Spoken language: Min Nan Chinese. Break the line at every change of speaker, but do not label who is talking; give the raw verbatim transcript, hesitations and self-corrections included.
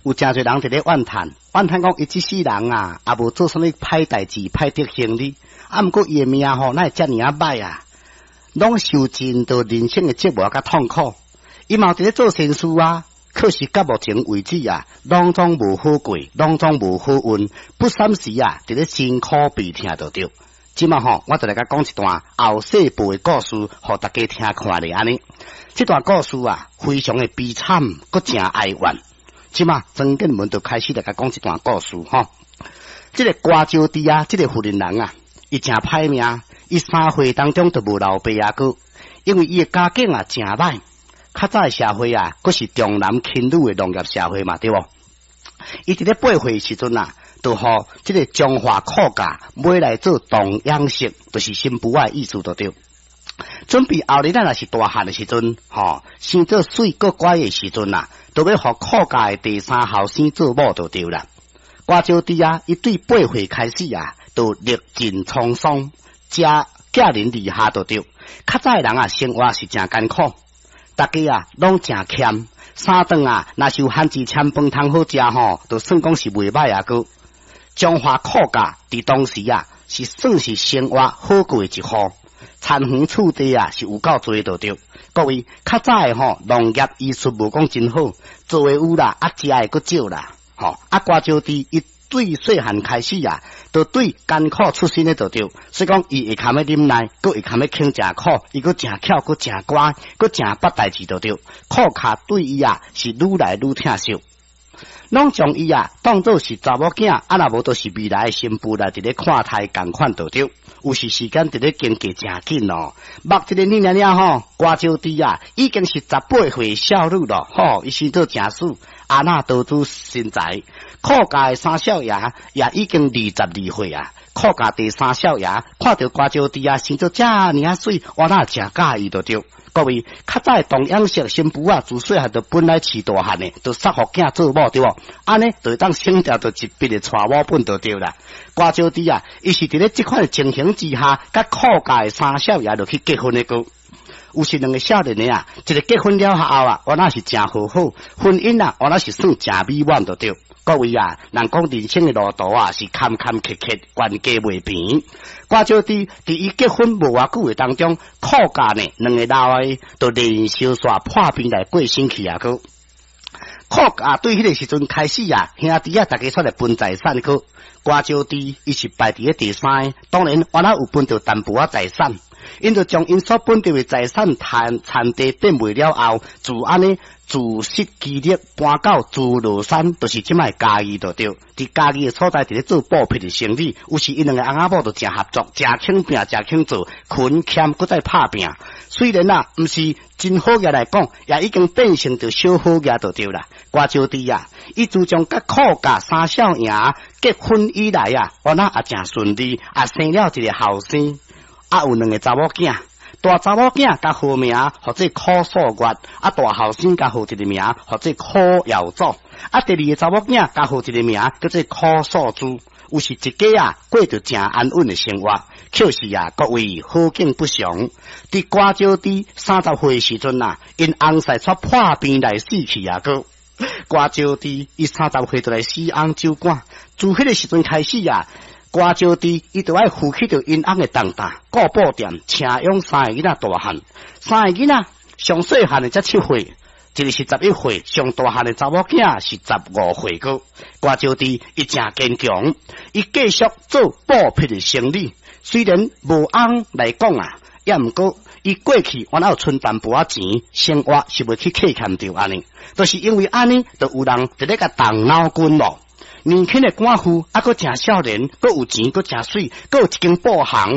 有誠濟人佇咧怨嘆，怨嘆講伊這世人啊，也無做啥物歹代誌、歹德行哩。啊，毋過伊的命吼，哪會遮爾仔歹啊？攏受盡著人生的折磨佮痛苦。伊嘛佇咧做善事啊，可是到目前為止啊，攏總無好過，攏總無好運，不三時啊，佇咧辛苦悲痛就對。這馬吼，我就來共講一段後世報的故事，予大家聽看咧按呢。這段故事啊，非常的悲慘，閣誠哀怨。這馬曾建文就開始來共講這段故事吼。這個瓜招娣啊，這個婦人人啊，伊誠歹命，伊三歲當中就無老爸阿哥，因為伊的家境啊誠歹。較早的社會啊，閣是重男輕女的農業社會嘛，對無？伊佇咧八歲時陣啊，就予這個彰化苦家買來做童養媳，就是新婦仔的意思就對。準備後日咱若是大漢的時陣，吼，生做媠閣乖的時陣啊，就欲予苦家的第三後生做某就對啦。瓜招娣啊，伊對八歲開始啊，就歷盡滄桑，食寄人籬下就對。較早的人啊，生活是誠艱苦，大家啊攏誠儉，三頓啊，若是有番薯攕飯通好食吼，就算講是袂䆀啊閣。彰化苦家佇當時啊，是算是生活好過的一戶，田園厝地啊是有夠濟就對。各位較早的吼農業醫術無講真好，做的有啦，啊食的閣少啦，吼啊瓜招娣伊對細漢開始啊，就對艱苦出身的就對，所以講伊會堪欲忍耐，閣會堪欲肯食苦，伊閣誠巧，閣誠乖，閣誠捌代誌就對。苦家對伊啊是愈來愈疼惜。攏將伊啊當做是查某囝，啊若無就是未來的新婦來佇咧看待仝款就對。有時時間佇咧經過誠緊哦，目一个年爾爾吼，瓜招娣啊已經是十八歲少女咯，吼，伊生做誠媠，阿那多姿身材。苦家的三少爺也已經二十二歲啊，苦家第三少爺看著瓜招娣啊生做遮爾仔媠，我哪誠佮意就對。各位，較早童養媳新婦仔，自細漢就本來飼大漢的，就捒予囝做某對無？按呢就會當省掉著一筆的娶某本就對啦。瓜招娣啊，伊是佇咧這款的情形之下，佮苦家的三少爺就去結婚的閣。有是兩个少年的啊，一个結婚了後啊，原來是誠和好，婚姻啊，原來是算誠美滿就對。各位啊，人講人生的路途啊，是坎坎坷坷，懸低袂平。瓜招娣佇伊結婚無偌久的當中，苦家呢兩个老的就連續煞破病來過身去啊！閣苦家對彼个時陣開始啊，兄弟啊，逐家出來分財產閣瓜招娣伊是排佇咧第三个，當然原來有分著淡薄仔財產，𪜶就將𪜶所分著的財產田田地變賣了後，自按呢自食其力搬到諸羅山，就是這擺嘉義就對。佇嘉義的所在，佇咧做布匹的生意，有時𪜶兩個翁仔某就誠合作，誠肯拚，誠肯做，勤儉閣再拍拚。雖然啊，毋是真好額來講，也已經變成著小好額就對啦。瓜招娣啊，伊自從佮苦家三少爺結婚以來啊，原來也誠順利，也生了一個後生，啊有兩个查某囝。大查某囝共號名號做苦素月，啊大後生共號一个名號做苦耀祖，啊第二个查某囝共號一个名叫做苦素珠。有是一家啊過著誠安穩的生活。可是啊，各位好景不長，佇瓜招娣三十歲時陣啊，𪜶翁婿煞破病來死去啊！閣瓜招娣伊三十歲就來死翁酒館，自彼个時陣開始啊，瓜招娣伊就愛負起著𪜶翁的重擔，顧布店，請養三个囡仔大漢，三个囡仔上細漢的才七歲，一个是十一歲，上大漢的查某囝是十五歲閣。瓜招娣伊誠堅強，伊繼續做布匹的生意。雖然無翁來講啊，也毋過伊過去原來有存淡薄仔錢，生活是袂去欠欠著按呢，就是因為按呢，就有人佇咧共動腦筋咯。年輕的寡婦，猶閣誠少年，閣有錢，閣誠媠，閣有一間布行。